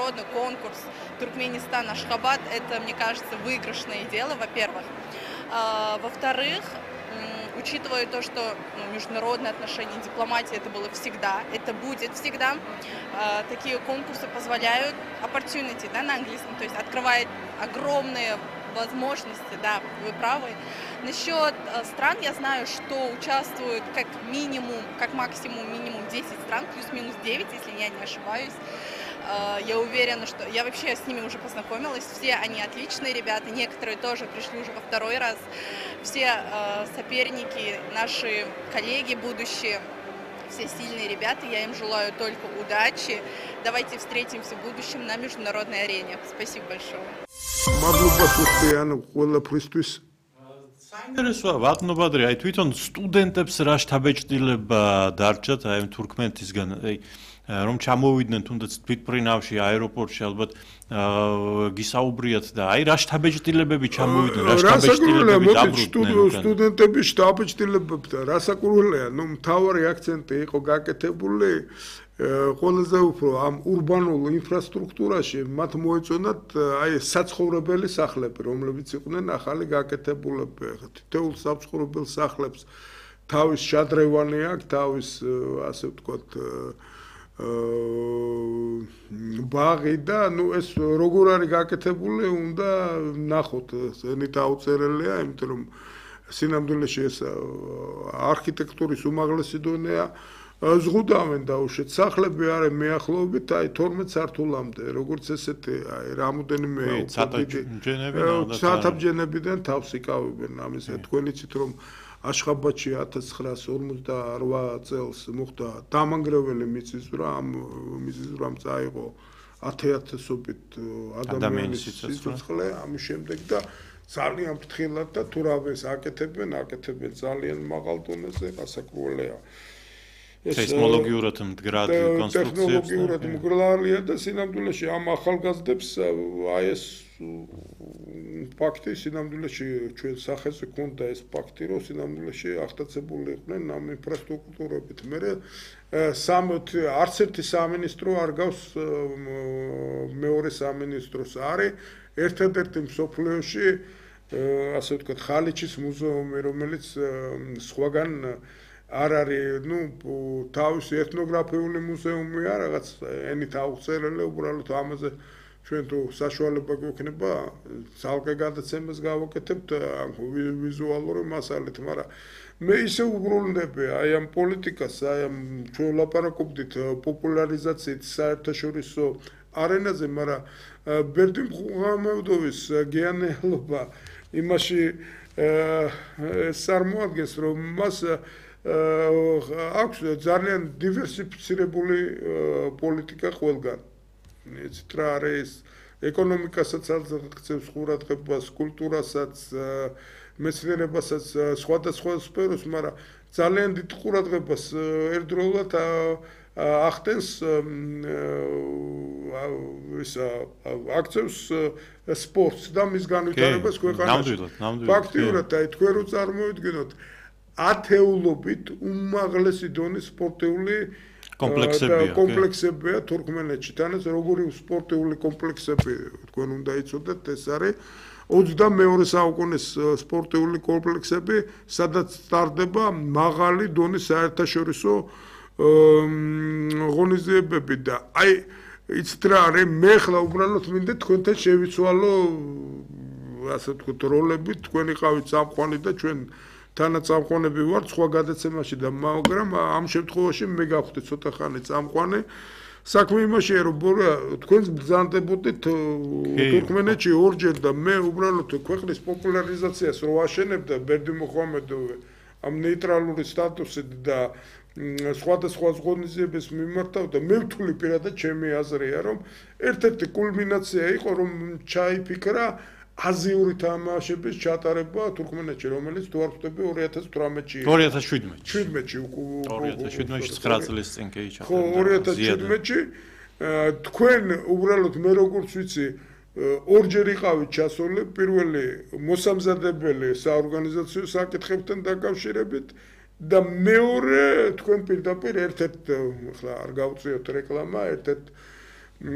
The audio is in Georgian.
международный конкурс Туркменистан Ашхабад, это, мне кажется, выигрышное дело, во-первых. Во-вторых, учитывая то, что международные отношения, дипломатия это было всегда, это будет всегда, такие конкурсы позволяют opportunity, да, на английском, то есть открывает огромные возможности, да, вы правы. Насчет стран я знаю, что участвуют как минимум, как максимум минимум 10 стран, плюс-минус 9, если я не ошибаюсь. Я уверена, что я вообще с ними уже познакомилась, все они отличные ребята, некоторые тоже пришли уже во второй раз, все соперники, наши коллеги будущие, все сильные ребята, я им желаю только удачи, давайте встретимся в будущем на международной арене. Спасибо большое. საინტერესოა ბატონო ბადრი, აი თვითონ სტუდენტებს რა შთაბეჭდილება დარჩათ აი თურქმენეთისგან, აი რომ ჩამოვიდნენ თუნდაც თვითმფრინავში აეროპორტში ალბათ გისაუბრიათ და აი რა შთაბეჭდილებები ჩამოვიდნენ, რა შთაბეჭდილებები დაბრუნდნენ სტუდენტების შთაბეჭდილებებთან რასაკურველია, ნუ მთავარი აქცენტი იყო გაკეთებული ყველაზე უფრო ამ ურბანულ ინფრასტრუქტურაში მათ მოეწონათ აი საცხოვრებელი სახლები, რომლებიც იყვნენ ახალი გაკეთებულები. თითოეულ საცხოვრებელ სახლებს თავის შადრევანი აქვს, თავის ასე ვთქვათ ბაღი და ნუ ეს როგორ არის გაკეთებული, უნდა ნახოთ, ზენი დაუწერელია, იმიტომ რომ სინამდვილეში ეს არქიტექტურის უმაღლესი დონეა. ზღუდავენ დაუშვით სახლები არის მეახლოებით აი 12 სართულამდე, როგორც ესეთი აი რამოდენიმე საათაბჯენებიდან თავს იკავებენ ამის თქვენ იცით რომ აშხაბადში 1958 წელს მოხდა დამანგრეველი მიწისძვრა, ამ მიწისძვრამ წაიღო 10,000-ობით ადამიანის სიცოცხლე, ამის შემდეგ და ძალიან ფრთხილად და თურავეს აკეთებენ ძალიან მაღალ დონეზე, გასაკურველია. სეისმოლოგიურად მდგრად კონსტრუქციებს ტექნოლოგიურად მგრალია და სინამდვილეში ამ ახალგაზრდებს აი ეს ფაქტი სინამდვილეში ჩვენ სახეზე ქონდა ეს ფაქტი რომ სინამდვილეში აღტაცებული იყვნენ ამ ინფრასტრუქტურებით. მე არც ერთი სამინისტრო არ გავს მეორე სამინისტროს არის ერთადერთი მსოფლიოში ასე ვთქვათ ხალიჩის მუზეუმი რომელიც სხვაგან არ არის, ნუ თავისი ეთნოგრაფიული მუზეუმია, რაღაც ენით აუწერელი, უბრალოდ ამაზე ჩვენ თუ საშუალება გვექნება, ძალკე გადაცემას გავაკეთებთ ვიზუალური მასალით, მაგრამ მე ისე უბრუნდები აი ამ პოლიტიკას, აი ამ ჩვენ ვლაპარაკობდით პოპულარიზაციით საერთაშორისო არენაზე, მაგრამ ბერდი მუხამედოვის გეანელობა იმაში წარმოადგენს, რომ მას აქვს ძალიან დივერსიფიცირებული პოლიტიკა ყველგან. იცით რა არის ეკონომიკასაც აღწევს ყურადღებას, კულტურასაც, მეცნიერებასაც, სხვადასხვა სფეროს, მაგრამ ძალიან დიდ ყურადღებას ერთდროულად ახდენს აქცევს სპორტს და მის განვითარებას ქვეყანაში. ფაქტიურად აი თქვენ რო წარმოვიდგინოთ ათეულობით უმაღლესი დონის სპორტიული კომპლექსებია თურქმენეთში. თანაც როგორი სპორტიული კომპლექსები თქვენ უნდა იცოდეთ, ეს არის 22 საუკუნის სპორტიული კომპლექსები, სადაც სტარდება მაღალი დონის საერთაშორისო ღონისძიებები და აი იცით რა არის, მე ხლა უბრალოდ მინდა თქვენთან შევიცვალო ასე ვთქვათ როლები, თქვენ იყავით წამყვანი და ჩვენ თანაწამყვანები ვართ სხვა გადაცემაში და მაგრამ ამ შემთხვევაში მე გავხდი ცოტა ხანი წამყვანი. საქმე იმაშია რომ თქვენს ბრძანდებოდით თურქმენეთში ორჯერ და მე უბრალოდ ქვეყნის პოპულარიზაციას რო აშენებდა ბერდი მუხამედოვი ამ ნეიტრალური სტატუსით და სხვადასხვა ღონისძიებებს მიმართავდა, მე ვთვლი პირადად ჩემი აზრია რომ ერთ-ერთი კულმინაცია იყო რომ ჩაიფიქრა აზიური თამაშების ჩატარება თურქმენეთში, რომელიც თუ არ ვხვდები 2018-ში 2017-ში 2017-ში 9 წლის წინ კი ჩატარდა. ხო, 2017-ში თქვენ უბრალოდ მე როგორც ვიცი ორჯერ იყავით ჩასული, პირველი მოსამზადებელი საორგანიზაციო საკითხებთან დაკავშირებით და მეორე თქვენ პირდაპირ ერთ-ერთ, ახლა არ გავუწიოთ რეკლამა, ერთ-ერთ